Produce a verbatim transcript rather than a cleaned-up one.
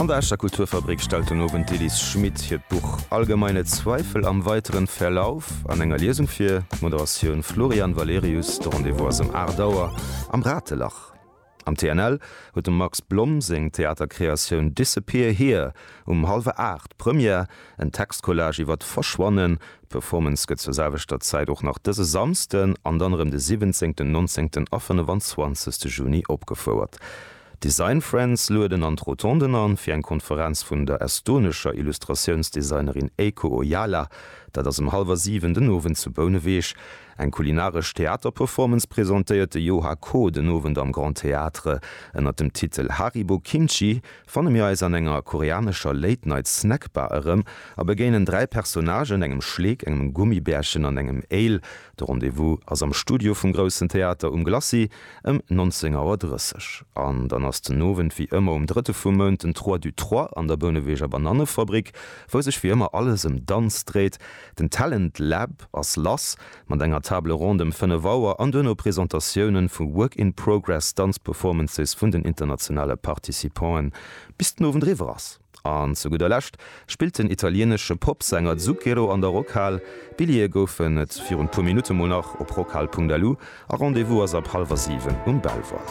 An der Escher Kulturfabrik stellt den Owend d'Elise Schmit hiert Buch Allgemeine Zweifel am weiteren Verlauf an enger Liesung vir, Moderatioun Florian Valerius. De Rendez-vous ass ëm aacht Auer am Ratelach. Am T N L huet dem Max Blom seng Theaterkreatioun Disappear Here um hallwer aacht Première, en Textcollage iwwer d'Verschwannen. D'Performance gëtt zur selwechter Zäit och nach dëse Samsden an dann erëm de siwwenzéngten, nonzéngten a fënnefenzwanzegste Juni opgefouert. D'Design Friends lueden an d'Rotonden an, fir eng Konferenz vun der estonescher Illustratiounsdesignerin Eiko Ojala. Dat ass ëm hallwer siwen den Owend zu Bouneweg. Eng kulinaresch Theaterperformance presentéiert de Yoha Ko den Owend am Grand Théâtre. Ënnert dem Titel Haribo Kimchi fanne mir eis an enger koreanescher Late-Night-Snackbar erëm a begéinen dräi Personnagen, engem Schleek, engem Gummibärchen an engem Éil. De Rendez-vous ass am Studio vum Groussen Theater um Glacis ëm nonzéng Auer drësseg. An dann ass den Owend wéi ëmmer um drëtte vum Mount den Trois du Trois an der Bouneweger Banannefabrik, wou sech wéi ëmmer alles ëm Danz dréit. Den Talent Lab ass lass mat enger Table ronde ëm fënnef Auer an duerno Presentatiounen vu Work-in-Progress Danzperformances vun den internationale Participanten, bis den Owend eriwwer ass. An zu gudder Lescht spillt den italienesche Popsänger Zucchero an der Rockhal. Billjeeë goufen et virun puer Minutte mol nach op rockhal Punkt lu a Rendez-vous ass ab hallwer siwen um Belval.